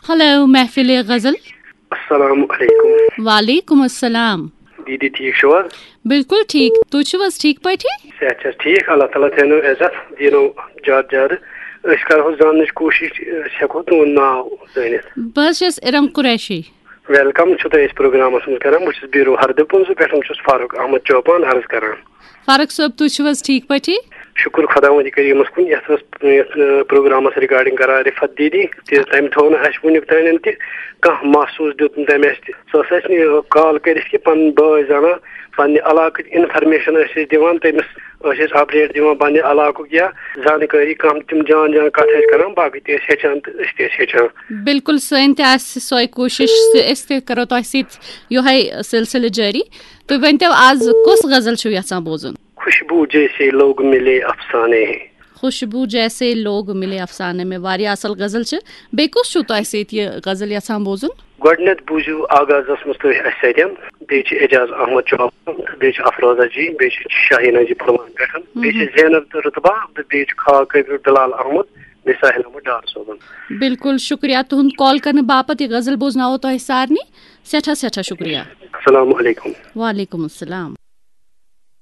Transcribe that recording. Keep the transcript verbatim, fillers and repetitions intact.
Hello محفل غزل۔ السلام علیکم۔ وعلیکم السلام۔ دیدی، ٹھیک چھو حظ؟ بالکل ٹھیک، تُہۍ چھِو حظ ٹھیک پٲٹھۍ؟ صحت چھا ٹھیک؟ اللہ تعالیٰ تھٲینو عزت، دینو زیادٕ زیادٕ۔ أسۍ کرہو زاننٕچ کوٗشِش، أسۍ ہٮ۪کو تُہُنٛد ناو زٲنِتھ؟ بہٕ حظ چھَس ارم قریشی۔ ویلکم چھُ تۄہہِ أسۍ پروگرامس منٛز کران۔ بہٕ چھُس بیٖرو ہردٕ پٕنٛزٕ پٮ۪ٹھ، بہٕ چھُس فاروق احمد چوپان عرض کران۔ فاروق صٲب، تُہۍ چھِو حظ ٹھیک پٲٹھی؟ شُکُر خۄداوندِ کریٖمس کُن، یتھ ٲس یتھ پروگرامس regarding کران رفت دیدی تہِ، تٔمۍ تھوو نہٕ اَسہِ وُنیُک تانٮ۪ن تہِ کانٛہہ محسوٗس دیُت نہٕ تٔمۍ اَسہِ تہِ۔ سۄ ٲس اَسہِ یہِ call کٔرِتھ کہِ پنٕنۍ بٲے زانان، پننہِ علاقٕچ information ٲسۍ أسۍ دِوان تٔمِس، ٲسۍ أسۍ update دِوان پننہِ علاقُک یا زانکٲری کانٛہہ تِم جان جان کتھ ٲسۍ کران، باقٕے تہِ ٲسۍ ہیٚچھان تہٕ أسۍ تہِ ٲسۍ ہیٚچھان۔ بالکل، سٲنۍ تہِ آسہِ سۄے کوٗشِش زِ أسۍ تہِ کرو تۄہہِ سۭتۍ یِہوٚے سلسلہٕ جٲری۔ تُہۍ ؤنۍتو، آز کۄس غزل چھِو یژھان بوزُن؟ خوشبو جیسے لوگ ملے افسانے۔ خوشبو جیسے لوگ ملے افسانے میں، واریاہ اصل غزل چھِ۔ بیٚیہِ کُس چھُو تۄہہِ سۭتۍ یہِ غزل یژھان بوزُن؟ گۄڈٕنیتھ بوٗزِو آغازس منٛز تُہۍ اَسہِ سۭتۍ، بیٚیہِ چھِ اعجاز احمد چوپان، بیٚیہِ چھِ افروزہ جی، بیٚیہِ چھِ شاہیٖنا جی پلوامہ پٮ۪ٹھ، بیٚیہِ چھِ زینب تہٕ رُتبہ، تہٕ بیٚیہِ چھُ خاک کبیر بلال احمد، بیٚیہِ ساحل احمد ڈار صٲبُن۔ بالکل شُکریہ تُہُنٛد call کرنہٕ باپتھ۔ یہِ غزل بوزناوو تۄہہِ سارنٕے۔ سٮ۪ٹھاہ سٮ۪ٹھاہ شُکریہ۔ السلام علیکم۔ وعلیکم السلام۔